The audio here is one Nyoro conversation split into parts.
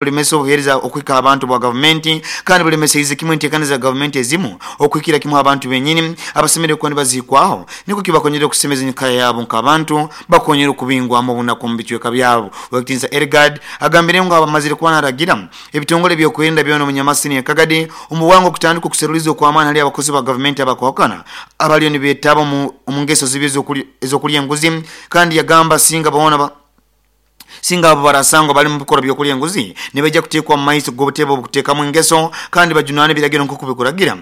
Bulemesa obuheereza okuhika abantu bwa gavumenti, kandi bulemeseize kimu enteekaniza za gavumenti ezimu okuhikira kimu abantu benyini abasemeriire kuba nibazihikwaho, nikwo kibakonyere okusemeza enyikara yabo nk'abantu bakonyere okubingwamu obunaku omu bicweka byabo. Owekitinisa Elgard agambire ngu abamazire kuba naragira ebitongole ebyokwerinda byona omu Nyamasini ya Kagadi omu bwangu okutandika okuseruliza okw'amaani hali abakozi ba gavumenti abakwahukana abaliyo nibetaba omu ngeso zibi ez'okulya enguzi, kandi yagamba singa boona singa abo barasangwa bali mu bikorwa by'okulya enguzi nibaija kuteekwa mu maiso g'obutebe obukuteekamu engeso kandi bajunane ebiragiro nk'oku bikuragira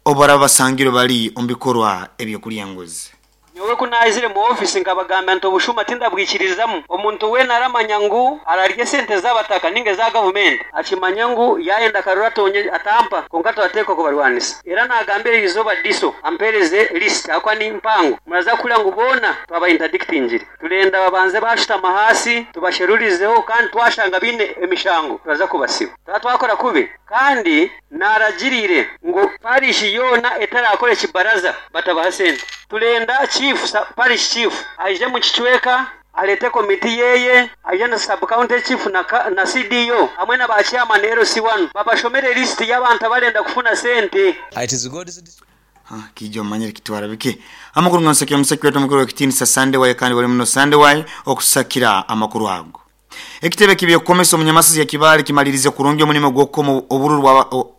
obu baraba basangirwe bali omu bikorwa eby'okulya enguzi. Nyowe ku naizire mu ofiisi nkabagambira nti obushuma tindabwikiririzamu. Omuntu weena aramanya ngu ararya esente z'abataka ninga eza gavumenti akimanye ngu yaayenda akaruru atonye atampa kwonka turateekwa kubarwanisa. Era naagambira erizooba DISO ampeereze list ahabw'okuba ni mpango. Muraza kuhurira ngu boona twaba interdictingire. Turenda babanze baashutama ahaasi tubasherurizeho kandi twashanga baine emishango turaza kubasiba. Turaba twakora kubi. Kandi naaragiriire ngu parish yoona etarakora ekibaraza batabaha sente. Turenda chief, parish chief aije omu kicweka areete komiti yeye, aije na sub county chief na CDO hamwe na ba chairman LC1 babashomere list y'abantu abarenda kufuna sente. It is God's decision. Kiija omanyire kitwara bike. Amakuru nga nsakira omusaki waitu omukuru w'ekitiinisa Sunday Wayi, kandi wali muno Sunday Wayi okusakira amakuru ago. Ekitebe ky'ebyokukomesa omu Nyamasizi ya Kibaale kimalirize kurungi omulimo gw'okukoma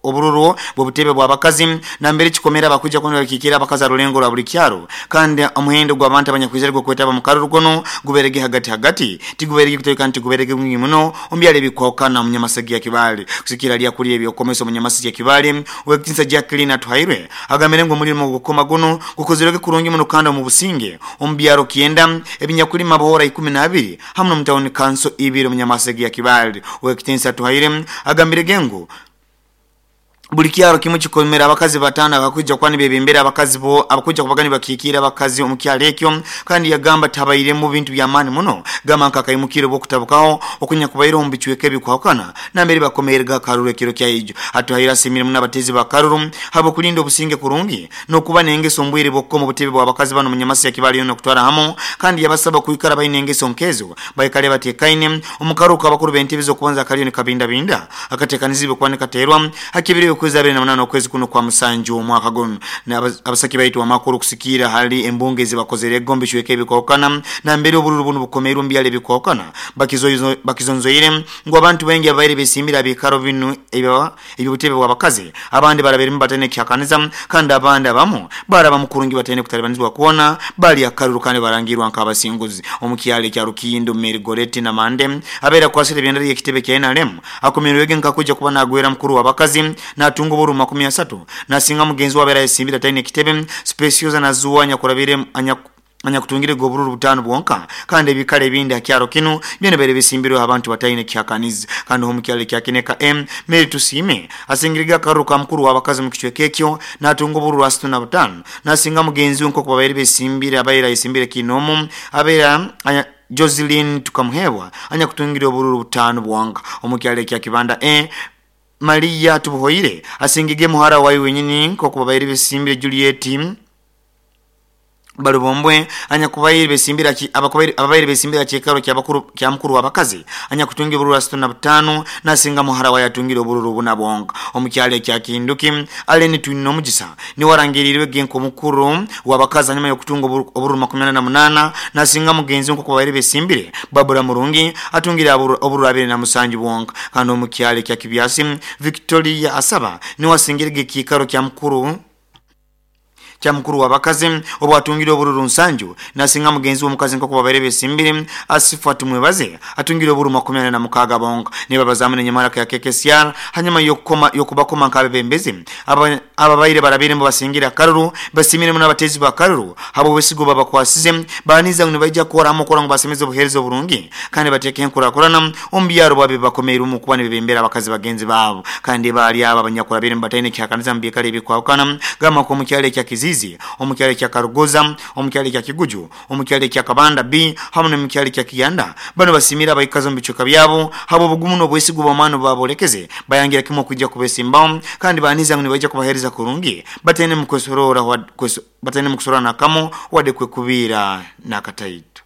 obururu bw'obutebe bw'abakazi nambere kikomere abakwija kuba nibakiikirra abakazi ha rulengo rwa buli kyaro, kandi omuhendo gw'abantu abanyakwizire gw'okwetaba omu karuru kunu gubairege hagati hagati, tigubairege kutoyi kandi tigubairege mwingi muno omu byaro ebikwahukana omu Nyamasegi ya Kibaale. Kusigikirra hali akulira eby'okukomesa omu Nyamasezi ya Kibaale, Ow'ekitiinisa Jacqueline Atuhairwe agambire ngu omulimo gw'okukoma gunu gukozirwege kurungi muno kandi omu businge omu byaro kyenda ebinyakulima aboora ikumi n'abiri hamu n'omu tawuni kanso ibiri omu Nyamasege ya Kibaale. Ow'ekitiinisa Atuhaire agambirege ngu buli kyaro kimu kikomere abakazi bataano abakwija kuba nibebembera abakazi bo abakwija kubaga nibakiikiira abakazi omu kyaro ekyo, kandi yagamba tihabairemu bintu by'amaani muno gamba nk'akaimukirro bw'okutabukaho okunyakubaireho omu bicweka ebikwahukana nambere bakomeerega akaruru ekiro kya ijo. Atuhaire asiimire muno abateezi ba karuru habw'okulinda obusinge kurungi n'okuba n'engeso omu bwire bw'okukoma obutebe bw'abakazi banu omu Nyamasya Kibaale yoona okutwara hamu, kandi yabasaba kwikara baine engeso nk'ezo baikale bateekaine. Omu karuru k'abakuru b'entebe z'okubanza akaliyo nikabindabinda akateekaniziibwe kuba nikateerwa ha kibiri okwezi 28 okwezi kunu kwa Musanju omwaka gunu. Abasaki baitu amakuru kusikiira hali embunge ezibakozere ego omu bicweka ebikwahukana nambere obururu bunu bukomeirwe omu byaro ebikwahukana bakizonzoire ngu abantu baingi ababaire besimbire aha biikaro binu eby'obutebe bw'abakazi, abandi barabairemu bataine kihakaniza, kandi abandi abamu baarabamu kurungi bataine kutalibanizibwa kwona, baalya akaruru kandi barangiirwa nk'abasinguzi. Omu kyaro ekya Rukindo, Mary Goretti Namande abaire akwasire ebendera y'ekitebe kya nrm akomerwege nk'akwija kuba nagwera mukuru w'abakazi natunga obururu 30 nasinga mugenzi we abaire ayesimbire ataine kitebe, Specioza Nazuwa anyakurabiire anyakutungirege obururu butaano bwonka, kandi ebikaro ebindi ha kyaro kinu byona bibaire bisimbirweho abantu bataine kihakanizi. Kandi omu kyaro ekya Kineka A, Mary Tusiime asingirege akaruru ka mukuru w'abakazi omu kicweka ekyo natunga obururu 35 nasinga mugenzi we nk'oku babaire besimbire abaire ayesimbire kiinoomu abaire Joseline Tukamuheebwa anyakutungire obururu butaano bwonka. Omu kyaro ekya Kibanda A, Maria Tubuhoire asingige muhara waye wenyini nk'oku babaire besimbire Juliet Balubombwe anyakubaire besimbire ababaire besimbire aha kiikaro kya mukuru w'abakazi anyakutunga obururu 35 nasinga muhara waye atungire obururu buna bwonka. Omu kyaro ekya Kinduki, Allen Twinomugisa niwe arangiriirwe ge nk'omukuru w'abakazi hanyuma y'okutunga obururu 48 nasinga mugenzi we nk'oku babaire besimbire Barbara Murungi atungire obururu 27 bwonka. Kandi omu kyaro ekya Kibyasi, Victoria Asaba niwe asingire ge ekiikaro kya mukuru kya mukuru w'abakazi obu atungire obururu nsanju nasinga mugenzi we omukazi nk'oku babaire besimbire Asifa Tumwebaze atungire obururu 46 bonka. Nibabazaamu n'enyamaraka ya KKCR hanyuma y'okubakoma nk'abebembezi ababaire barabairemu basingire akaruru. Basiimire muno abateezi b'akaruru habw'obwesiga obu babakwasize, baaniza ngu nibaija kukora hamu kurora ngu basemeza obuheereza oburungi kandi bateeka enkurakurana omu byaro bwabo ebi bakomeirwemu kuba nibebembera abakazi bagenzi baabo. Kandi baali abo abanyakurabairemu bataine kihakaniza omu biikaro ebikwahukana gamba nk'omu kyaro ekya Kiziizi, omu kyaro ekya Karugoza, omu kyaro ekya Kiguju, omu kyaro ekya Kabanda B hamu n'omu kyaro ekya Kiyanda. Banu basiimire abaikazi omu bicweka byabo habw'obugumu n'obwesigwa obw'amaani obu baaboolekeze, bayangira kimu okwija kubesimbaho kandi baaniza ngu nibaija kubaheereza kurungi bataine mukusoroora n'akamu wadde kwekubiira n'akataito.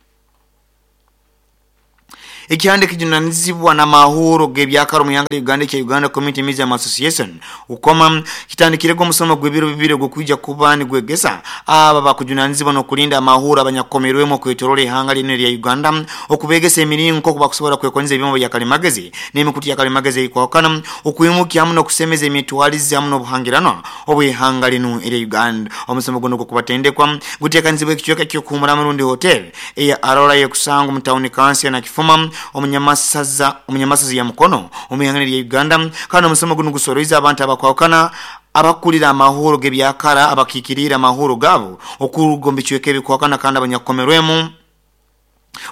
Ekihanda ekijunanizibwa n'amahuro g'ebyakara omu ihanga lya Uganda ekya Uganda Community Museum Association UCOMA kitandikirege omusomo gw'ebiro bibiri ogw'okwija kuba nigwegesa abo abakujunanizibwa n'okulinda amahuro abanyakukomerwemu okwetoroora ihanga linu erya Uganda okubegesa emiringo nk'oku bakusobora kwekonyeza ebyoma bya kalimagezi n'emikutu ya kalimagezi erikwahukana okwimukya hamu n'okusemeza emitwarize hamu n'obuhangiranwa obw'ihanga linu erya Uganda. Omusomo gunu ogw'okubatendekwa guteekanizibwa ekicweka ky'okuhumuramu rundi hotel eya Arora ekusangwa omu tawuni kanso ya Nakifuma omunyamasaza omunyamasaza ya Mukono omu ihanga erya Uganda kandi omusomo gunu gusoroize abantu abakwahukana abakukurira amahuro g'ebyakara abakikiriire amahuro gaabo okuruga omu bicweka ebikwahukana kandi abanyakukomerwemu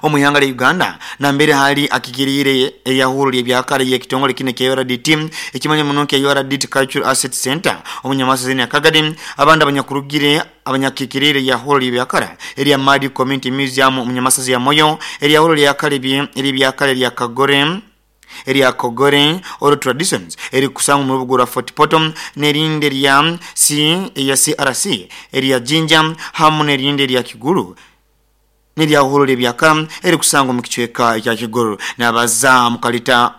omu ihanga lya Uganda nambere hali akikiriire eyahuro ly'ebyakara ey'ekitongole kinu ekya URDT ekimanywa muno nka URDT Cultural Assets Centre omunyamasaza Nyakagadi abandi abanyakurugire abanyakikiriire eyahuro ly'ebyakara erya Madi Community Museum omunyamasaza ya Moyo eryahuro lyakara ery'ebyakara erya Kagore erya Kogore Oral Traditions erikusangwa omu rubuga orwa Fort Portal n'erindi erya C erya CRC erya Jinja hamu n'erindi erya Kigulu n'eryahuro ly'ebyakara erikusangwa omu kicweka ekya Kigulu. Nabaza mukalita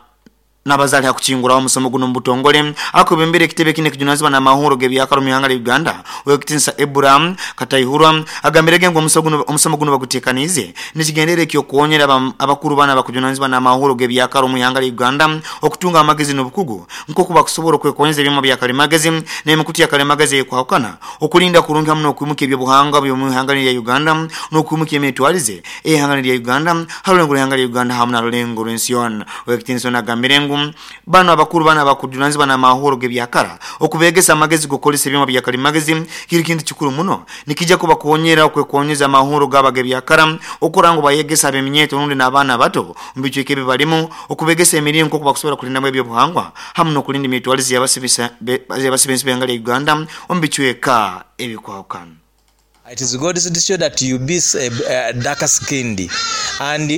Nabaza ali ha kukinguraho omusomo gunu omu butongole akwebembera ekitebe kinu ekijunanizibwa n'amahuro g'ebyakara omu ihanga lya Uganda Owekitinisa Ebura Kataihurwa agambirege ngu omusomo gunu bagutekaniize n'ekigendererwa eky'okukonyera abakuru banu abakujunanizibwa n'amahuro g'ebyakara omu ihanga lya Uganda okutunga amagezi n'obukugu nk'oku bakusobora okwekonyeza ebyoma bya kalimagezi n'emikutu ya kalimagezi eyekwahukana okulinda kurungi hamu n'okwimukya eby'obuhangwa by'omu ihanga lya Uganda n'okwimukya emitwarize ey'ihanga lya Uganda ha rulengo rw'ihanga lya Uganda hamu na rulengo rw'ensi yoona. Ow'ekitiinisa onu agambire ngu banu abakuru banu abakujunanizibwa n'amahuro g'ebyakara okubegesa amagezi g'okukozesa ebyoma bya kalimagezi kiri kintu kikuru muno nikija kubakonyera okwekonyeza amahuro gaabo ag'ebyakara okurora ngu bayegesa ab'eminyeeto rundi n'abaana abato omu bicweka ebi balimu okubegesa emiringo nk'oku bakusobora kulindamu eby'obuhangwa hamu n'okulinda emitwarize y'abasiba ensi b'ihanga lya Uganda omu bicweka ebikwahukana. It is God's decision that you be dark skinned and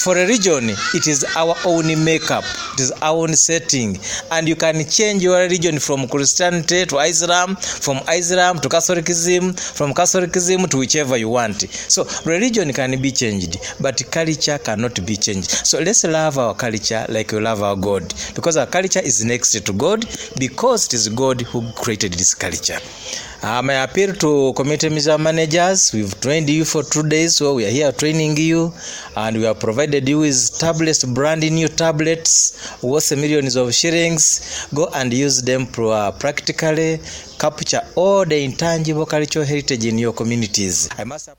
for religion it is our own make up, it is our own setting and you can change your religion from Christianity to Islam, from Islam to Catholicism, from Catholicism to whichever you want. So religion can be changed but culture cannot be changed. So let's love our culture like we love our God because our culture is next to God because it is God who created this culture. My appeal to community museum managers, we've trained you for 2 days, so we are here training you, and we have provided you with tablets, brand new tablets, worth millions of shillings. Go and use them practically, capture all the intangible cultural heritage in your communities. I must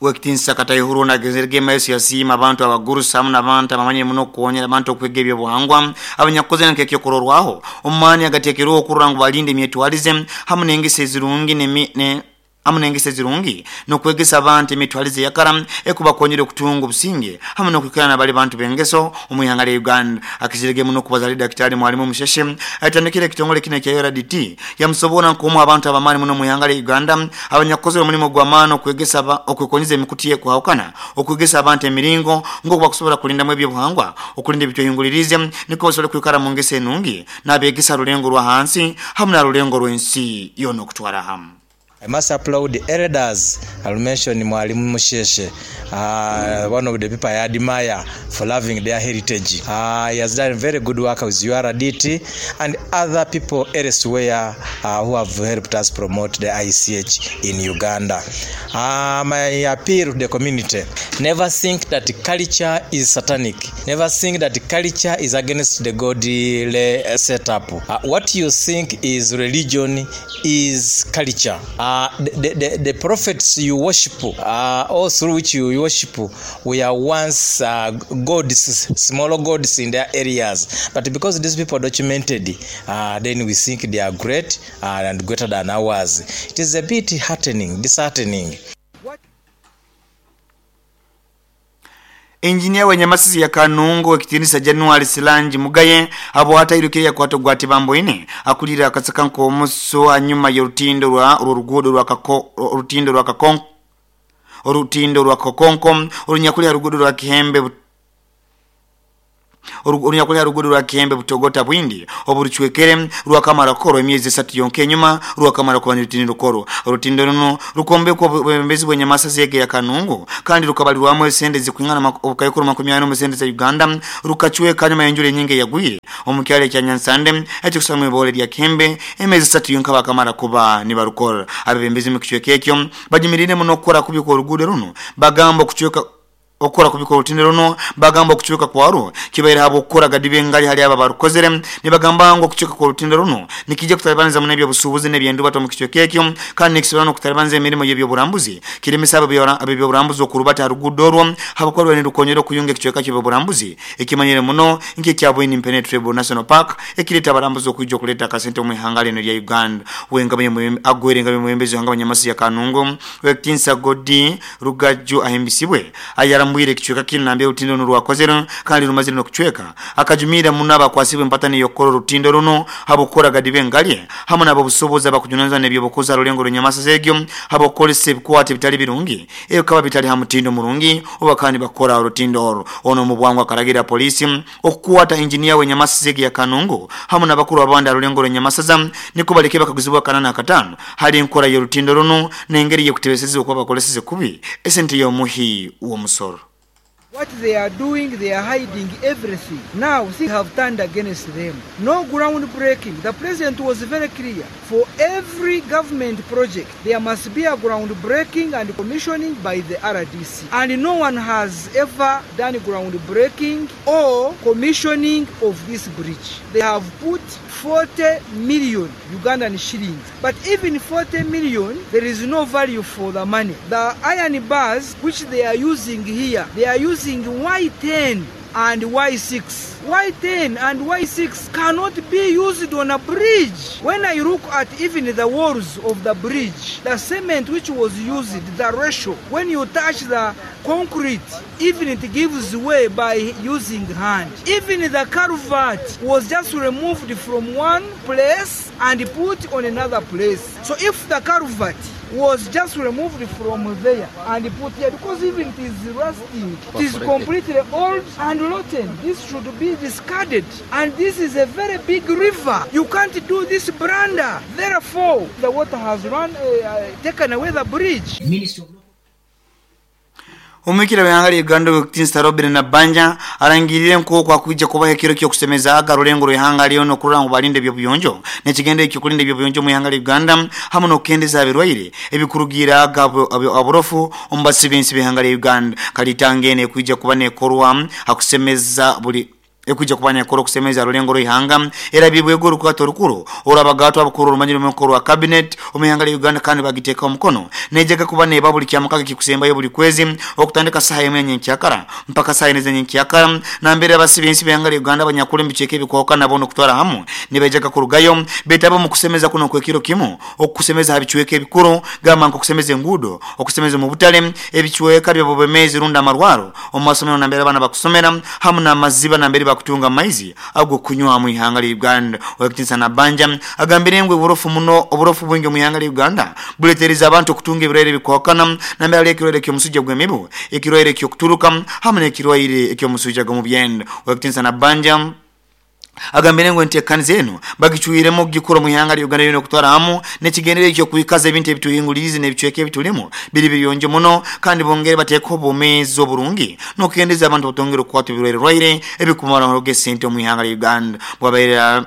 Owekitinisa Kataihurwa nagenzerege maiso yasiima abantu abagurusi hamu n'abantu abamanyire muno okukonyera abantu okwega eby'obuhangwa abanyakukozere nk'ekyokurorwaho omu maani agateekerweho okurora ngu balinda emyetwarize hamu n'engeso ezirungi hamu n'engeso ezirungi n'okwegesa abantu emitwarize eyakara ekubakonyera okutunga obusinge hamu n'okwikara nabali bantu b'engeso omu ihanga lya Uganda. Akizirege muno okubaza ali Dakitari Mwalimu Musheshe ayetandikire ekitongole kinu ekya URDT yamusobora nk'omu abantu abamaani muno omu ihanga lya Uganda abanyakukozere omulimo gw'amaani okwegesa okwekonyeza emikutu y'ekwahukana okwegesa abantu emiringo nk'oku bakusobora kulindamu eby'obuhangwa okulinda ebitwehinguliriize nukwo basobole kwikara mu ngeso enungi n'abegesa rulengo rwa hansi hamu na rulengo rw'ensi yoona okutwara hamu. I must applaud the elders, I'll mention Mwalimu Musheshe, one of the people I admire for loving their heritage. He has done very good work with URDT and other people elsewhere who have helped us promote the ICH in Uganda. My appeal to the community, never think that culture is satanic, never think that culture is against the godly setup. What you think is religion is culture. The prophets you worship, or through which you worship, were once gods, small gods in their areas. But because these people documented, then we think they are great and greater than ours. It is a bit heartening, disheartening. Engineer w'enyamasisi ya Kanungu ow'ekitiinisa January Silangi Mugaye abwata airukire yakwata ogwa Tibamboine akulire akasaka nk'omuso hanyuma y'orutindo rwa orw'oruguudo rwa Kako orutindo rwa Kakonko orutindo rwa Kakonko orunyakuli ha ruguudo rwa Kihembe Orunyakuli ha ruguudo rwa Kihembe Butogota Bwindi oburucwekere rwakamara kukorwa emyezi 3 yonka enyuma rwakamara kuba nirutindo rukorwa. Orutindo runo rukombekwa obwebembezi bw'enyamasa zege ya Kanungu kandi rukabalirwamu esente zikwingana obukayukuru 40 sente za Uganda, rukacweka nyuma y'enjura enyingi yagwire omu kyalo ekya Nyansande ekikusangwa ibole lya Kihembe emyezi 3 yonka bakamara kuba nibarukora. Abebembezi mu kicweka ekyo bajumirire muno okukora kubi kw'oruguudo runo, bagamba okucweka okukora kubi kw'orutindo runo, bagamba okucweka kwarwo kibaire habw'okukora gadibe ngali hali abo abarukozere. Nibagamba ngu okucweka kw'orutindo runo nikijja kutalibaniza muno eby'obusuubuzi n'ebyendubato omu kicweka ekyo, kandi nikisobora n'okutalibaniza emirimo y'ebyoburambuzi, kiremesa ab'ebyoburambuzi okurubata ha ruguudo orwo habwokuba rwali nirukonyera okuyunga ekicweka ky'ebyoburambuzi ekimanyire muno nk'ekya Bwindi Impenetrable National Park, ekireeta abarambuzi okwija okuleeta akasente omu ihanga linu erya Uganda. Agwere nga mwebembezi w'ihanga Banyamasi ya Kanungu, Ow'ekitinisa Godi Rugaju ahimbisibwe ayarambwire ekicweka kinu nambere orutindo runu rwakozerwe kandi rumazire n'okucweka. Akajumirra muno abakwasibwe empatani y'okukora orutindo runu habw'okukora gadibe ngalye hamu n'abobusobozi abakujunanizibwa n'ebyobukozi ha rulengo rw'enyamaswa egyo habw'okukozesa ebikwato ebitali birungi ebikaba bitali ha mutindo murungi obu bakaba nibakora orutindo oru. Ono omu bwangu akaragira poliisi okukwata engineer w'enyamaswa egi ya Kanungu hamu n'abakuru abandi ha rulengo rw'enyamasaza nikwo baleke bakaguzibwa kanana akatano hali enkora y'orutindo runu n'engeri y'ekutebeseza okuba bakoleseze kubi esente y'omuhi w'omusoro. What they are doing, they are hiding everything. Now things have turned against them. No ground breaking. The president was very clear. For every government project, there must be a ground breaking and commissioning by the RDC. And no one has ever done ground breaking or commissioning of this bridge. They have put 40 million Ugandan shillings. But even 40 million, there is no value for the money. The iron bars which they are using here, they are using Y10 and Y6. Y10 and Y6 cannot be used on a bridge. When I look at even the walls of the bridge, the cement which was used, the ratio, when you touch the concrete, even it gives way by using hand. Even the culvert was just removed from one place and put on another place. So if the culvert was just removed from there and put here, because even it is rusting, it is completely old and rotten. This should be discarded. And this is a very big river. You can't do this blunder. Therefore, the water has run, taken away the bridge. Omwikira w'ihanga lya Uganda Ow'ekitiinisa Robin Nabbanja arangirire nk'oku akwija kubaho ekiro ky'okusemezaaga rulengo rw'ihanga lyona okurora ngu balinda eby'obuyonjo n'ekigendero eky'okulinda eby'obuyonjo omu ihanga lya Uganda hamu n'okukendeza ebirwaire ebikurugiiraaga oburofu omu basi b'ensi b'ihanga lya Uganda. Kalitanga eno ekwija kuba nekorwa hakusemeza buli ekwija kuba nekora okusemeza rulengo rw'ihanga era bibwego orukwata orukuru orw'abagatwa abakuru orumanyire omu rwa cabinet omu ihanga lya Uganda kandi bagiteekaho omukono nejaga kuba neba buli kyamukaga kikusembayo buli kwezi okutandika saha emwe nyenkyakara mpaka saha ine zenyenkyakara nambere abasi b'ensi b'ihanga lya Uganda abanyakuru emiceeka ebikwahuka nabo n'okutwara hamu nibajaga kurugayo betaba omu kusemeza kuno okw'ekiro kimu okusemeza ha bicweka ebikuru gamba nk'okusemeza enguudo, okusemeza omu butale, ebicweka by'obubemezi rundi amarwaro omu masomero nambere abaana bakusomera hamu n'amaziba nambere bakutunga amaizi ag'okunywa mu ihanga lya Uganda. Ow'ekitiinisa Nabbanja agambire ngu oburofu muno oburofu bwingi omu ihanga lya Uganda buleetereza abantu okutunga ebirwaire ebikwahukana nambere hariho ekirwaire ky'omusujja gw'emibu, ekirwaire eky'okuturuka hamu n'ekirwaire eky'omusujja gw'omu byenda. Ow'ekitiinisa Nabbanja agambire ngu enteekaniza enu bagicwiremu okugikora omu ihanga lya Uganda lyona okutwara hamu n'ekigendererwa eky'okwikaza ebintu ebituhinguliriize n'ebicweka ebitulimu biri birungi muno kandi bongere bateekeho obwomeezi oburungi n'okukendeza abantu batongere okukwatwa ebirwaire ebikumaraho esente omu ihanga lya Uganda. Bwabaire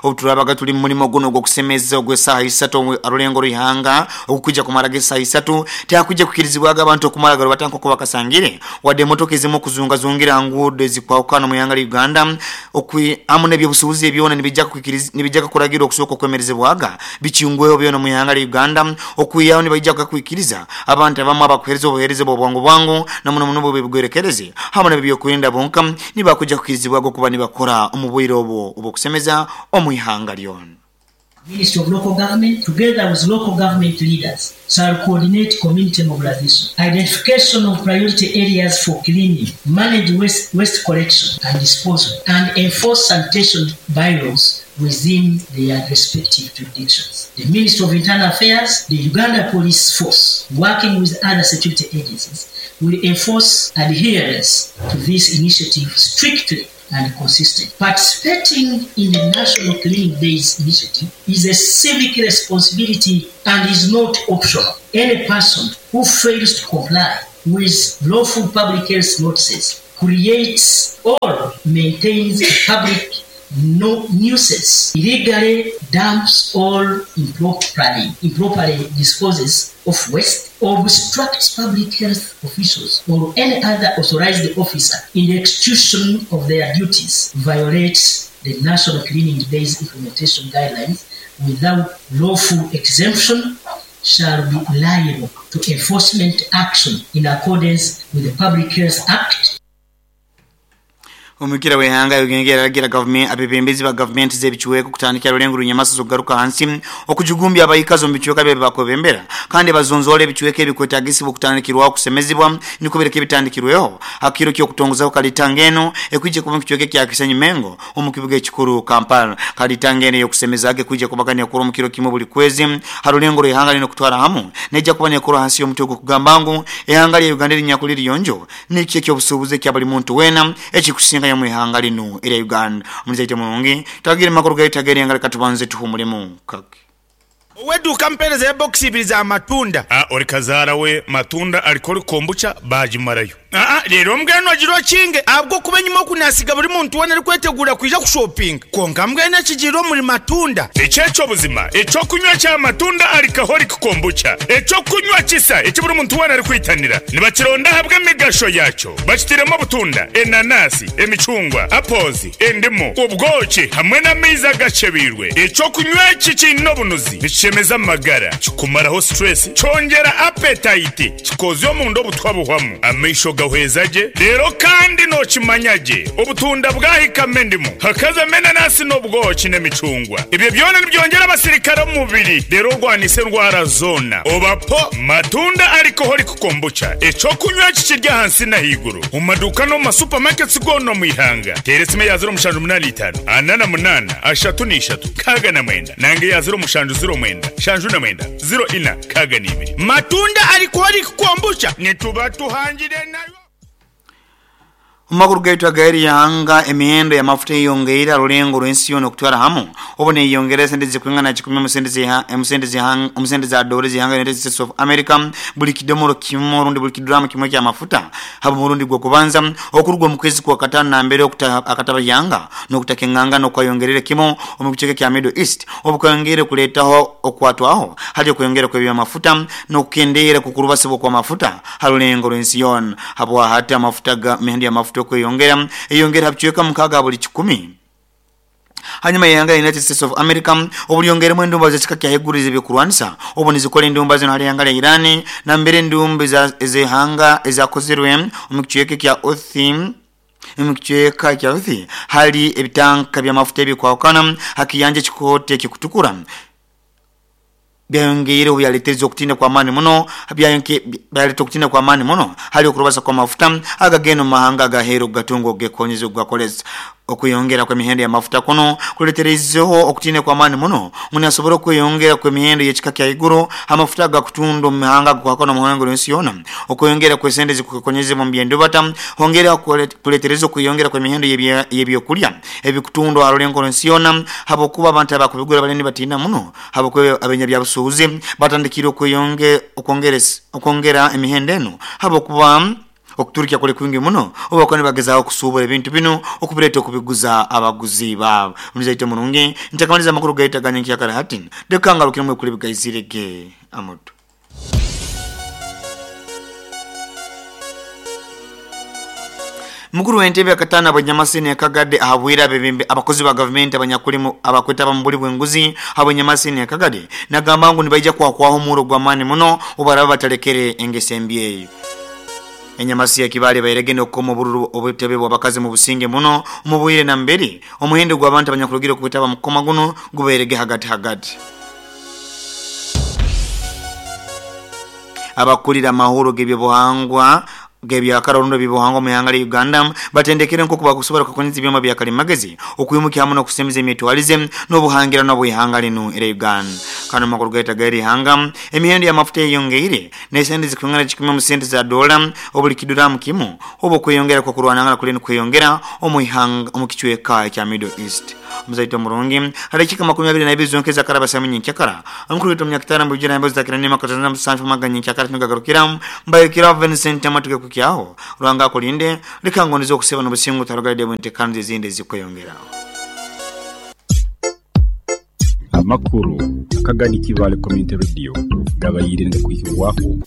obuturabaga tuli mu mulimo guno ogw'okusemeza ogw'esaaha isatu arulengo rw'ihanga okukwija kumaraga esaaha isatu tihakwija kukirizibwaga abantu okumara garubata nk'oku bakasangire wadde emotoka ezimu okuzungazungira ha nguudo ezikwahukana omu ihanga lya Uganda hamu n'ebyobusuubuzi ebyona nibijja kuragira okusooka okwemerezebwaga bikingweho byona omu ihanga lya Uganda okwihaho nibaija kukwikiriza abantu abamu abakuheereza obuheereza bw'obwangu bwangu na muno muno bw'ebigwerekereze hamu n'ebyokwerinda bonka nibakwija kukirizibwaga okuba nibakora omu bwire obwo obw'okusemeza omu ihanga lyona. Ministry of Local Government, together with local government leaders, shall coordinate community mobilization, identification of priority areas for cleaning, manage waste, waste collection and disposal, and enforce sanitation bylaws within their respective jurisdictions. The Ministry of Internal Affairs, the Uganda Police Force, working with other security agencies, will enforce adherence to this initiative strictly and consistently. Participating in the National Cleaning Days initiative is a civic responsibility and is not optional. Any person who fails to comply with lawful public health notices creates or maintains a public no nuisance, illegally dumps or improperly disposes of waste, obstructs public health officials or any other authorized officer in the execution of their duties, violates the National Cleaning Days Implementation Guidelines without lawful exemption, shall be liable to enforcement action in accordance with the Public Health Act. Omukira w'ehanga Uganda yaragira government abebembezi ba government z'ebichweka kutandikira rulengo runyamasa zogaruka hansi okujugumbya abayikazo mu bichweka bye bakwebembera kandi bazonzole ebichweka ebikwetagisibwa okutandikirwa okusemezibwa nikubereka ebitandikirweho akiro kyo kutongozaho kalitangeno ekwije kuba kichweka kya Kisenyi Mengo omu kibuga ekikuru Kampala. Kalitangeno yokusemezage kwije kubaganya kuro mu kiro kimwe buli kwezi harulengo rw'ehanga lino kutwara hamu neja kuba nekoro hansi y'omutwe kugamba ngu ehanga lya Uganda linyakuliri yonjo nikyo kyobusubuze kya buli muntu wena ekikusinga mu ihanga lino era Uganda. Omuzaite mulungi tagire makuru gaita gere ngale katubanze tuhumulemu kake Oweduka mpereza ya box ibiri za matunda. Ori kazara we matunda alikori kombucha bajimarayo. Rero mbweno agiro kinge abwo kuba nyuma kunasiga buri muntu wena ari kwetegura kwija kushopping. Konka mbwene kigiro muri matunda. Echecho buzima, echo kunywa cha matunda alikahori kombucha. Echo kunywa kisa eki buri muntu wena ari kwitanira. Nibakironda habwe migasho yacho. Bakitiremo butunda, enanasi, emicungwa, apples, endimu, ubwoki hamwe n'amaizi agacebirwe. Echo kunywa iki kino bunuzi. Chemeza magara, kikumaraho stress, chongera appetite, kikozyo mundo butwabuhwamu, amaisho gahwezaje, rero kandi no kimanyaje, obutunda bwahika mendimu, hakaza menanasi n'obwoki n'emicungwa. Ibyo byona nibyongera abasirikare mu mubiri, rero rwanise ndwara zona. Obapo matunda alcoholic kombucha, eco kunywa kikirya hansi na higuru. Mu maduka no mu supermarkets gono mu ihanga. Teresime ya 0.85, 48, 33, 69, nange ya 0.7 0 shanju na mwenda 0 ina kaga nibiri. Matunda alcoholic kombucha nituba tuhangire nayo. Makuru gaitu agayeri yanga emihendo ya mafuta yongeira rulengo rwensi yono kutwara hamu obone yongera sente zikwingana 10 omusente za dollars zihanga United States of America buli kidomoro kimwe rundi buli kidrama kimwe kya mafuta habo murundi gwo kubanza okurugwa mu kwezi kwa katano na mbere okuta akataba yanga no kutakenganga no kwayongerere kimo omukicheke kya Middle East obukongere kuletaho okwatwaho hali kuyongera kwa bya mafuta no kukendera kukurubasibwa kwa mafuta harulengo rwensi yono habo hata mafuta ga mihendo ya mafuta kweyongera eyongera habichweka mukaga buli 10. Hanyuma yanga United States of America obuliyongeremo endumba z'ekika kya hegurize byokurwanisa obone zikole endumba zino hali yanga ya Irani na mbere endumba ezehanga ezakozerwe mu kichweka kya Othi mu kichweka kya Othi hali ebitanka bya mafuta ebikwakana hakiyanje chikote kikutukura byayongere obyaletereza okutinda kwa amani muno byaleta okutinda kwa amani muno hali okurubasa kwa mafuta agageno mahanga agahero gatungo gekonyeza gakoleza okuyongera kwa mihendo ya mafuta kuno kuleterezeho okutinda kwa amani muno munasobora okuyongera kwa mihendo y'ekika kya iguru amafuta gakutundo mihanga kwakona muhango n'ensi yona okuyongera kwa sente zikukonyeza mu byendo bata hongera kuletereza okuyongera kwa mihendo y'ebyokulya ebikutundo arulengo n'ensi yona habo kuba abantu abakubigura baleni batina muno habo kwa abenya bya busuuzi batandikira okongera emihendo eno habo kuba okuturikya kule kwingi muno obakone bagezaho kusubura ebintu bino okubireta okubiguza abaguzi babo. Muzaite mulungi ntakamaliza makuru gaita ganyenki yakara hatin dekanga rukimwe kuli bigayizirege amutu. Mukuru w'entebe akatana abanyamasini akagade ahabwira abebembe abakozi ba government abanyakulimu abakweta bamubuli bwenguzi abanyamasini akagade nagamba ngu nibaija kwakwaho muro gwamani muno obaraba batalekere engesembi enyamasi ya kibali bayiregene okukoma obururu obutebe bw'abakazi mu businge muno omubwire na mbere omuhendo gw'abantu abanyakurugira okubitaba mukoma guno guberege hagati hagati. Abakulira amahoro g'ebyobuhangwa g'ebyakara orundi eby'obuhangwa omu ihanga lya Uganda batendekere nk'oku bakusobora kukozesa ebyoma bya kalimagezi okwimuka hamu n'okusemeza emitwalize n'obuhangirano bw'ihanga linu erya Uganda. Kandi omu makuru gaitu ag'eri ihanga, emihendo y'amafuta eyongeire n'esente zikwingana kikumi omu sente za dola obuli kiduramu kimu obu okweyongera kw'okurwanangana kuli nikweyongera omu ihanga omu kicweka ekya Middle East. Omuzaito omurungi, ha dakiika 22 zonka ezakaraba saaha emu nyenkyakara, omukuru waitu omunyakitara mbujira embozi za Kirana Makatana musanju maga nyenkyakara tinugagarukira mbayukira Vincent amatuke kukyaho Ruhanga akulinde leka ngondeze okuseba n'obusingu tarugaide bw'entekaniza ezindi ezikweyongera. Amakuru akagani Kibaale Community Radio gabaire nigakwihibwaho.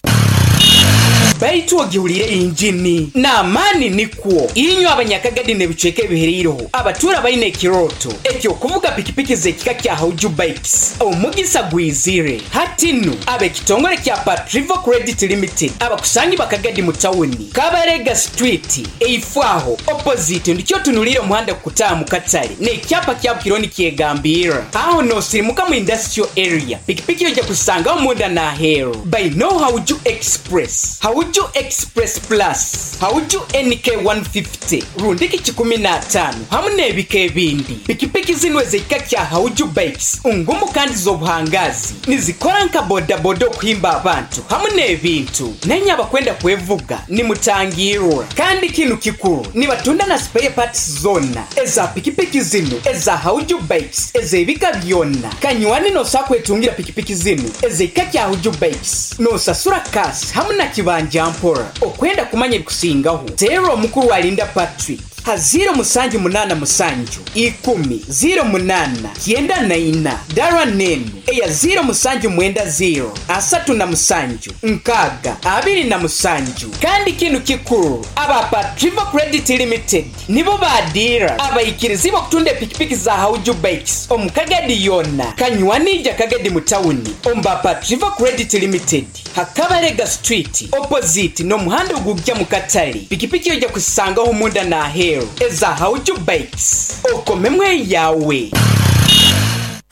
Baitu ogihuliire injini n'amaani nikwo. Inywe Abanyakagadi n'ebicweka ebihereireho abatuura baine ekirooto eky'okuvuga pikipiki z'ekika kya Hauju Bikes, omugisa gwizire. Hati nu, ab'ekitongore kya Patrivo Credit Limited abakusangibwa Kagadi mu tawuni, Kabarega Street, eifo aho, opposite, ndikyo otunuliire omuhanda gukutaaha mu katale n'ekyapa kyabu kiriho nikyegambirra. Aho n'osirimuka mu Industrial Area, pikipiki oija kuzisangaho munda n'aheeru. Baineo Hauju Express, Hauju Express Plus, Hauju NK 150 rundiki kikumi n'ataano hamu n'ebika ebindi. Pikipiki zinu ez'ekika kya Hauju Bikes ngumu kandi z'obuhangaazi. Nizikora nka bodaboda okuhimba abantu hamu n'ebintu. Nainye abakwenda kwevuga nimutangirwa. Kandi kinu kikuru, nibatunda na spare parts zoona eza pikipiki zinu eza Hauju Bikes ez'ebika byona. Kanywani nosobola kwetungira pikipiki zinu ez'ekika kya Hauju Bikes nosasura cash hamu na kibanja mpora. Okwenda kumanya ebikusingaho, teera omukuru Alinda Patrick ha ziiro musanju munaana musanju ikumi ziiro munaana kyenda na ina dara n'enu eya ziiro musanju mwenda ziiro asatu na musanju nkaaga abiri na musanju. Kandi kinu kikuru, aba Patrivo Credit Limited nibo ba diira abaikirizibwa okutunda epikipiki za Hauju Bikes omu Kagadi yoona. Kanywani ija Kagadi mu tawuni omu ba Patrivo Credit Limited ha Kabarega Street opposite n'omuhanda ogugya mu katale. Pikipiki oija kuzisangaho munda n'aheeru eza Hauju Bikes. Okomemu eyawe.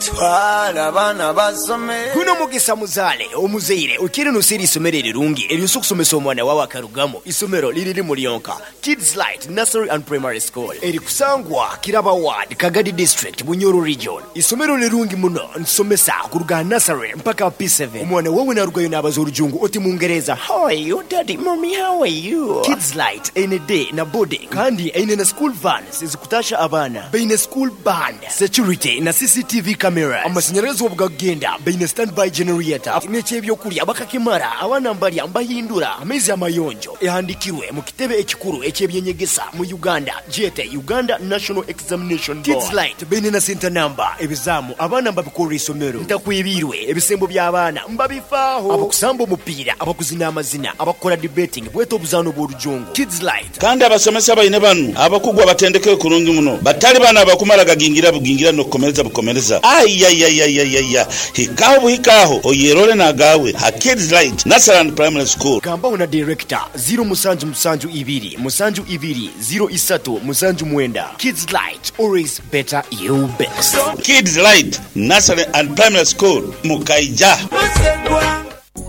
Twala abaana basome. Guno mugisa muzaale omuzaire okiire noseera eisomero erirungi eryosa okusomesa omwana wawe akarugamu. Isomero liri limu lyonka, Kids Light Nursery and Primary School erikusangwa Kiraba Ward, Kagadi District, Bunyoro Region. Isomero lirungi muno, nitusomesa kuruga aha nursery mpaka aha P7. Omwana wawe narugayo nabaza orujungu oti Mungereza, How are you daddy, mummy how are you? Kids Light eine day na boarding kandi eine na school vans ezikutasha abaana. Baine school band, security na CCTV cameras. Amashanyarazi obu gakugenda baine standby generator n'eky'ebyokurya bakakimara, abaana mbarya mbahindura amaizi amayonjo. Ehandikirwe mu kitebe ekikuru eky'ebyenyegesa mu Uganda gyete Uganda National Examination Board. Kids Light baine na center number, ebizaamu abaana mbabikorera isomero. Ntakwebiirwe, ebisembo by'abaana mbabifaaho. Abakusamba omupiira, abakuzina amazina, abakukora debating bwete obuzaano bw'orujungu. Kids Light. Kandi abasomesa baine banu abakugu abatendekere kurungi muno, batali bano abakumala gagingira bugingira n'okukomereza bukomereza. Aiaiaiaiaia! Hikaho buhikaho oyerole n'agaawe ha Kids Light Nursery and Primary School. Gambaho na Director, ziro musanju musanju ibiri musanju ibiri ziro isatu musanju mwenda. Kids Light, always better you best. Kids Light Nursery and Primary School, Mukaija.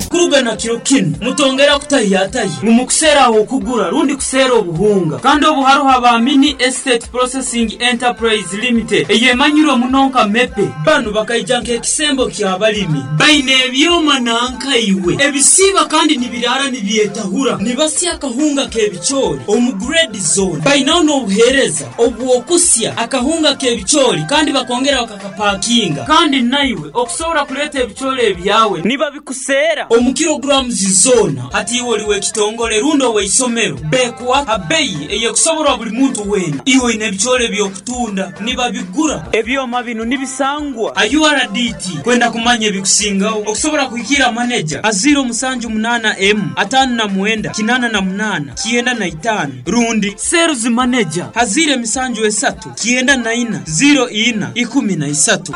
Kuruga na kiro kinu, mutongera kutahiyatahya ngu mukuseera ah'okugura rundi kuseera obuhunga. Kandi obu haroho aba Mini Estate Processing Enterprise Limited eyemanyirwe muno nka MEPE. Banu bakaija nk'ekisembo ky'abalimi. Baine ebyoma nanka iwe ebisiiba kandi nibiraara nibyetahura. Nibasya akahunga k'ebicoori omu grade zoona. Bainaho n'obuheereza obw'okusya akahunga k'ebicoori kandi bakongera bakakapakinga. Kandi naiwe okusobora kuleeta ebicoori ebyawe nibabikuseera omu kilograms zoona. Hati iwe oli w'ekitongole rundi ow'eisomero, beekuha ha beyi ey'ekusoborwa buli muntu weena. Iwe oine ebicoori eby'okutunda, nibabigura. Ebyoma binu nibisangwa ha URDT. Kwenda kumanya ebikusingaho, okusobora kuhikiira maneja ha ziiro musanju munaana emu, ataano na mwenda, kinaana na munaana, kyenda na itaano rundi sales maneja ha ziiro emisanju esatu, kyenda na ina, ziiro ina, ikumi na isatu.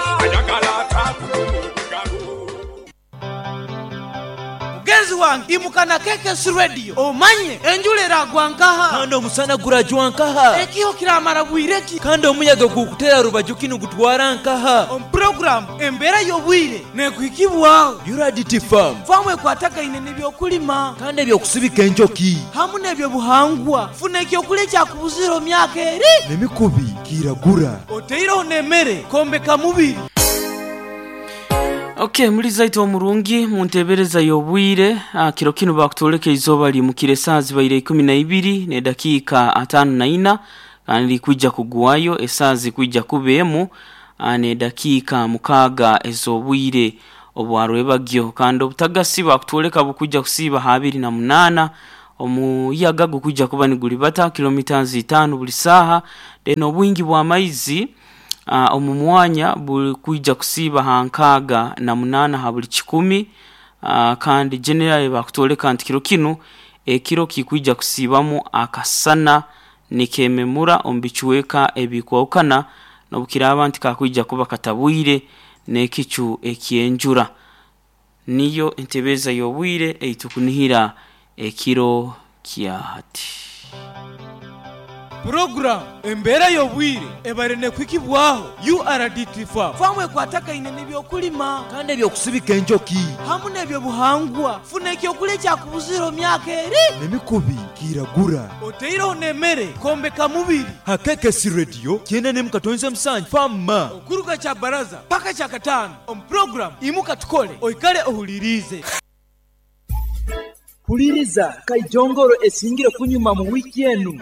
Mugenzi wange imuka na KKC Radio omanye enjura eragwa nkaha? Kandi omusana gurajwa nkaha? Ekiho kiramara bwire ki? Kandi omuyaga gukutera rubaju ki nigutwara nkaha? Omu puroguramu Embeera y'Obwire nekuhikibwaho URDT Farm. Faamu ekwatagaine n'ebyokulima. Kandi eby'okusibika enjoki. Hamu n'ebyobuhangwa. Funa ekyokulya ekyakubuzire omu myaka eri. N'emikubi kiragura. Oteireho n'emere kwombeka mubiri. Ok muri zaitwe omurungi muntebereza y'obwire kiro kinu bakutwoleka eizooba rimukire esaaha zibaire ikumi na ibiri n'edakiika ataano na ina kandi rikwija kugwayo esaaha zikwija kuba emu n'edakiika mukaaga ez'obwire obwa rwebagyo kandi obutagasi bakutwoleka bukwija kusiiba ha abiri na munaana omuyaga gukwija kuba niguribata kilometres itaano buri saaha then obwingi bw'amaizi Omu mwanya burikwija kusiiba aha 68 aha buri kikumi kandi generally bakutworeka nti kiro kinu ekiro kikwija kusiibamu akasana nikememura omu bicweka ebikwahukana n'obukiraaba nti kakwija kuba katabwire n'ekicu eky'enjura. Niyo entebeeza y'obwire ei tukunihira ekiro kya hati. Puroguramu Embeera y'Obwire ebaire nekuhikibwaho URDT Farm. Faamu ekwatagaine n'ebyokulima. Kandi eby'okusibika enjoki. Hamu n'ebyobuhangwa. Funa ekyokulya ekyakubuzire omu myaka eri. N'emikubi kiragura. Oteireho n'emere kwombeka mubiri. Ha KKC Radio 97.7 Farm. Okuruga Kyabaraza paka Kyakataano omu puroguramu Imuka Tukole oikale ohuliriize. Huliriza Kaijongoro esingire kunyuma mu wiiki enu.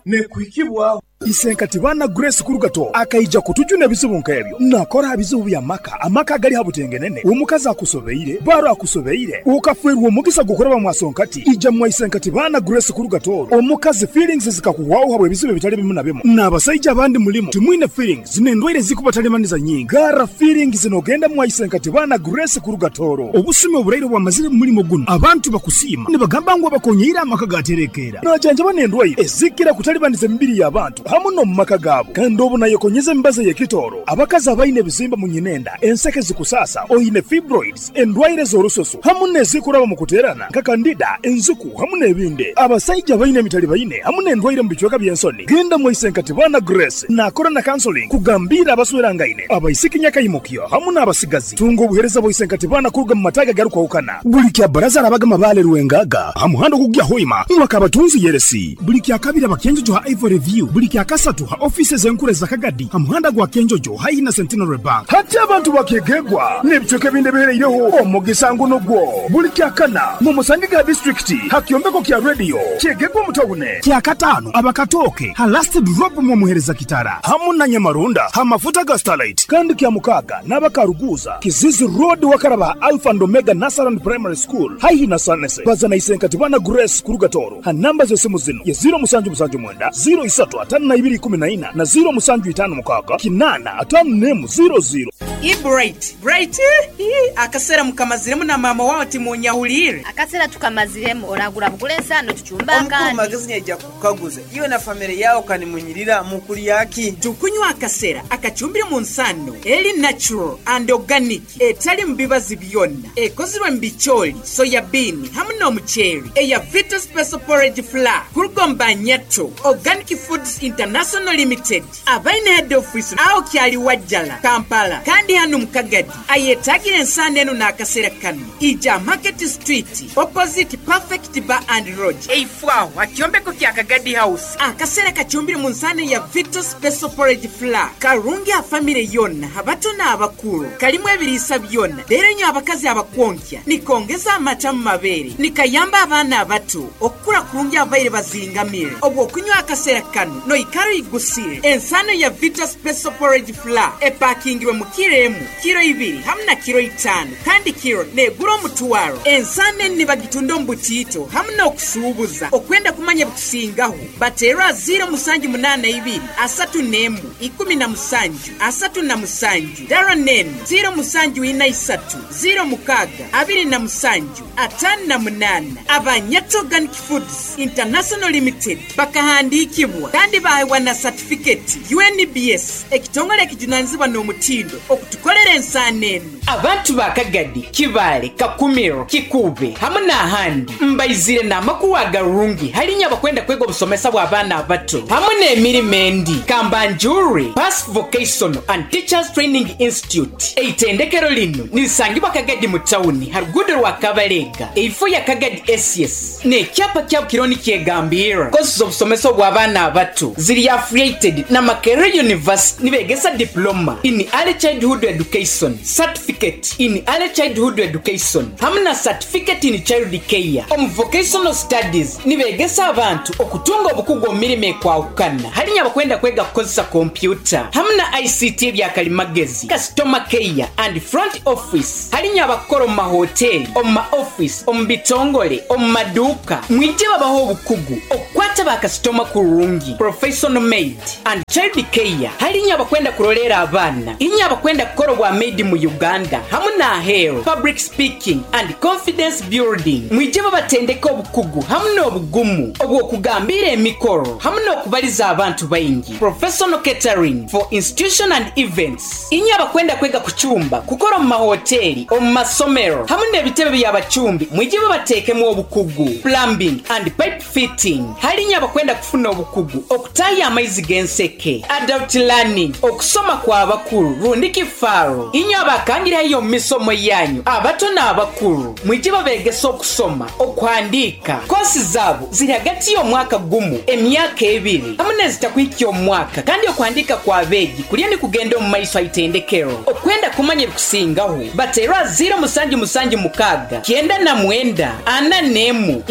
Nekuhikibwaho. Isenkati baana Grace Kurugato akaija kutujuna ebizibu nk'ebyo. Nakora aha bizibu by'amaka, amaka agali ha butengenene, omukazi akusobeire, baro akusobeire, okafeerwa omugisa gw'okuraba mwa Sonkati, ija mwa Isenkati baana Grace Kurugato, omukazi feelings zikakuhwaho habw'ebizibu ebitali bimu na bimu. N'abasaija abandi mulimu timwine feelings n'endwaire ezikubatalibaniza nyingi. Garra feelings n'ogenda mwa Isenkati baana Grace Kurugatoro. Obusumi oburaire obwamazire mu mulimo gunu, abantu bakusiima nibagamba ngu abakonyeire amaka gaterekeera. Najanjaba n'endwaire ezikira kutalibaniza emibiri y'abantu hamu n'omu maka gaabo. Kandi obu nayekonyeza emibazi ey'ekitooro, abakazi abaine ebizimba mu nyinenda, enseke zikusaasa, oine fibroids, endwaire z'orususu hamu n'ezikuraba mu kuteerana nka kandida, enziku hamu n'ebindi. Abasaija abaine emitalibaine hamu n'endwaire mu bicweka by'ensoni, genda mwa Isenkatibana Grace naakora na counseling kugambiira abaswerangaine, abaisiki nyakaimukyo hamu n'abasigazi. Tunga obuheereza bwa Isenkatibana kuruga mu mataagi agarukwahukana. Buli Kyabaraza arabaga Mabaale Rwengaga ha muhanda ogukugya Hoima mwa Kabatunzi Yeresi. Buli Kyakabiri aba Kyenjojo ha Ivory View. Buli Kyakasatu ha ofiisi ez'enkuru eza Kagadi ha muhanda gwa Kyenjojo haihi na Centenary Bank. Hati abantu bakyegegwa n'ebicweka ebindi ebihereireho omugisa ngu nugwo. Buli Kyakana mumusangege ha disiturikiti ha kyombeko kya rediyo Kyegegwa omu tawuni. Kyakataano aba Katooke ha Last Drop mwomuhereza Kitara hamu na Nyamarunda ha mafuta ga Starlight. Kandi Kyamukaaga n'aba Karuguuza, Kizizi Road wakaraba ha Alpha and Omega Nursery and Primary School haihi na Sanese. Baza na Isenkatibana Grace kuruga Tooro ha namba z'esimu zinu ye ziro musanju musanju mwenda, ziro isatu atano na ibiri ikumi na ina na ziro musanju itano mukaaga kinaana atano n'emu ziro ziro. Hi Bright, Bright ii akasera mukamaziremu na maama wawe timunyahuliire? Akasera tukamaziremu, oragura bugura ensaano tucumbe Omukuru akandi. Magezi nyaija kukukaguza, iwe na famire yawe kanimunyirira mukulya ki? Tukunywa akasera akacumbire mu nsaano eri natural and organic etalimu bibazi byona, ekozirwe mu bicooli, soya bean hamu n'omuceeri eya Vita Special Porridge Flour kuruga omu ba Nyato Organic Foods International Limited abaine head office agho Kyaliwajjala, Kampala kandi hanu mu Kagadi. Ayetaagira ensaano enu n'akasera kanu, ija Market Street opposite Perfect Bar and Lodge eifo agho ha kyombeko kya Kagadi House. Akasera kacumbire mu nsaano ya Vito Special Porridge Flour karungi aha famire yoona, abato n'abakuru. Kalimu ebiriisa byona reero inywe abakazi abakwonkya nikongeza amata mu mabeere, nikayamba abaana abato okukura kurungi ababaire bazingamire. Obw'okunywa akasera kanu noikara oigusire. Ensaano ya Vito Special Porridge Flour epakingirwe mu kiro emu, kiro ibiri hamu na kiro itaano kandi kiro negura omutwaro. Ensaano enu nibagitunda omu butiito hamu n'okusuubuza. Okwenda kumanya ebikusingaho, bateerwe aha ziiro musanju munaana ibiri, asatu n'emu, ikumi na musanju, asatu na musanju. Dara n'enu, ziiro musanju ina isatu, ziiro mukaaga, abiri na musanju, ataano na munaana. Aba Nyata Organic Foods International Limited bakahandiikibwa kandi baahebwa na satifiketi UNBS, ekitongole ekijunanizibwa n'omutindo. kutukolera ensaano enu. Abantu ba Kagadi, Kibaale, Kakumiro, Kikuube hamu n'ahandi mbaizire n'amakuru agarungi hali inywe abakwenda kwega obusomesa bw'abaana abato hamu n'emirimo endi. Kambanjurre Pass Vocational and Teachers Training Institute. Eitendekero linu nirisangibwa Kagadi mu tawuni ha ruguudo rwa Kabalega eifo ya Kagadi SS n'ekyapa kyabo kiriho nikyegambirra. Kosi z'obusomesa obw'abaana abato ziri affiliated na Makerere University nibegesa Diploma in Early Childhood Education, Certificate in Early Childhood Education hamu na Certificate in Child Care. Omu Vocational Studies nibegesa abantu okutunga obukugu omu mirimo ekwahukana hali inywe abakwenda kwega kukozesa kompyuta hamu na ICT ebyakalimagezi, Customer Care and Front Office hali inywe abakukora omu mahoteri, omu ma office, omu bitongole, omu maduuka mwije babahe obukugu okukwata ba kasitoma kurungi, Professional Maid and Child Care hali inywe abakwenda kuroleera abaana, inywe abakwenda kukora obwa maid mu Uganda hamu n'aheeru, Public Speaking and Confidence Building mwije babatendeke obukugu hamu n'obugumu obw'okugambiira emikoro hamu n'okubaliza abantu baingi, Professional Catering for Institution and Events inywe abakwenda kwega kucumba, kukora omu mahoteri, omu masomero hamu n'ebitebe by'abacumbi mwije babateekemu obukugu, Plumbing and Pipe Fitting hali inywe abakwenda kufuna obukugu okutaaha amaizi g'enseke, Adult Learning okusoma kw'abakuru rundi kifaaro inywe abakangire haihi omu misomo yanyu abato n'abakuru mwije babeegese okusoma, okuhandiika. Koosi zaabo ziri hagati y'omwaka gumu, emyaka ebiri hamu n'ezitakuhikya omwaka kandi okuhandiika kw'abeegi kuriyo nikugenda omu maiso ha itendekero. Okwenda kumanya ebikusingaho bateerwe aha ziiro musanju musanju mukaaga 99 41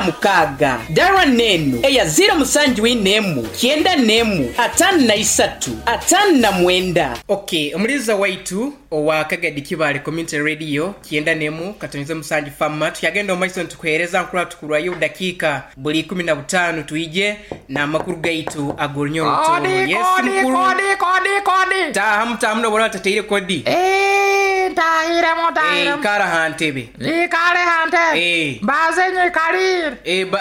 16. Dara n'enu eya ziiro musanju ina emu 91 53 59. Ok, omuliiza waitu owa Kagadi Kibaale Community Radio 91.7 Fama tukyagenda omu maiso nitukuheereza nkurora tukurwayo obudakiika buli 15 twije n'amakuru gaitu ag'orunya orutooro. Kodi, Yes kodi, mukuru. kodi, kodi, kodi. Taahamu taahamu nobu oraaba otateire kodi. Eeh, ntahiremu, ntahiremu. Ikara ha ntebe. Nyikale ha ntebe. Mbaze nyikalire.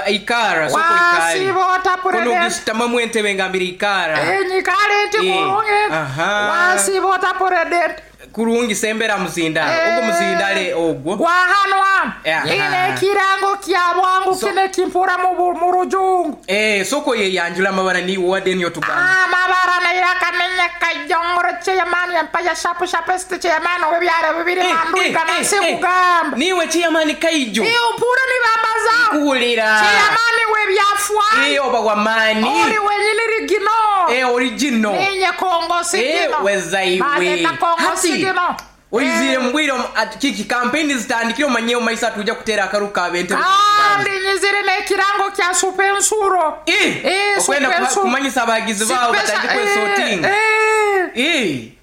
Ikara, sooka oikale. Wasiiba ota Kunu President? ogisutamamu entebe ngambire ikara. Nyikale nti kurungi. Aha. Wasiiba ota President? Kurungi sembera muzindalo. Ogwo muzindale ogwo. Gwa hanu hanu. Aha. Nyine ekirango kya bwangu kinu ekimpura mu rujungu. Sooka oyeyanjule amabara niiwe owade niyo tugamba. Amabara nairaka ninye Kayongoro Chairman Empire Sharp Sharpest Chairman ow'ebyaro bibiri Mandwika nansi kugamba. Niiwe Chairman Kaijo. Iwe mpura nibambazaho. Nkuhurira. Chairman w'ebyafwayo. Oba w'amaani. Ori wenyini rigino. Origino. Ninye Kongo Sigino. Weza iwe. Bazeta Kongo Hati, Sigino. Oizire mu bwire kiki kampeyini zitandikire omanye omu maiso atuja kuteera akaru ka bente. Kandi nyizire n'ekirango kya supensuro. Okwenda Supensuro. kumanyisa abagizi baabo Sipesa, batandike kwesotinga.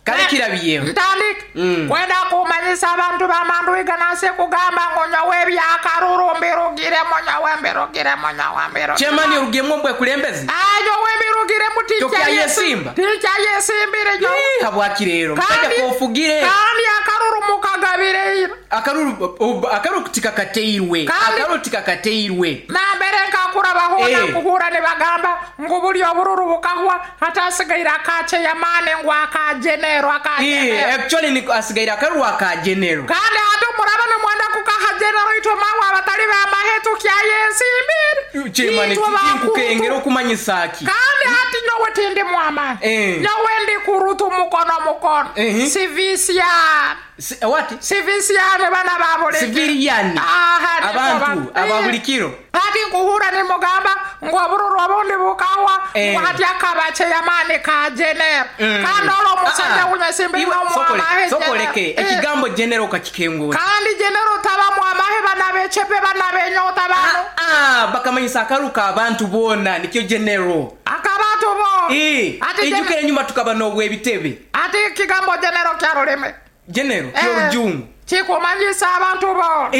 Kale kirabyeho. Ntandike. Kwenda kumanyisa abantu b'Amandwiga nansi kugamba ngu nyowe ebyakaruru mbirugiremu, nyowe mbirugiremu, nyowe mbirugiremu. Chairman orugiremu omu bwekulembezi? Nyowe mbirugiremu, Tokyayesiimba? tinkyayesimbire nyowe. Habwaki rero? Musajja k'ofugire. Kandi akaruru mukagabire ira. Akaruru tikakateirwe. Kandi Akaruru tikakateirwe. Nambere nkakura bahona nkuhura nibagamba ngu buli obururu bukahwa hatasigaire aka chairman ngu aka general, aka general. Actually ni asigaire akaruru aka general. Kandi hati muraba nimwenda kukaha general itwe mawe abatali b'amahe tukyayesimbire. Chairman, Itwe bakurutu. tinkukengera okumanyisa ki? Kandi hati nyowe tindi mwamahe. Nyowe ndi kurutu mukono mukono. Civilian. What? Civilian bana ba buli Civilian. Aha, ni Abantu, bo ba- aba buli kiro. Hati nkuhura nimugamba ngu obururu obundi bukahwa, ngu hati akaba chairman ka general. Kandi olwo omusajja w'ensimbi Iwe, n'omwamahe sokole, general. Ekigambo general okakikengura. Kandi general taba mwamahe bana b'echepe bana b'enyota bano. Bakamanyisa akaruka abantu boona nikyo general. Akabantu boona. Ati Ijukire enyuma tukaba n'obw'ebitebe. Ati ekigambo general kya rulimi. General, ky'orujungu. Kikumanyisa abantu boona.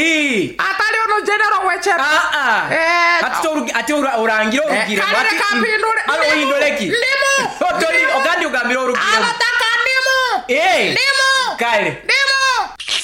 Atali ono general w'echepe. Ati ati orangire orugire. Kale Ati, reka mpindure. Alo, Ndimu. ohindure ki? Ndimu. Otori, Ndimu. ogandi ogambire orugire. Abataka ndimu. Ndimu. Kale. Ndimu.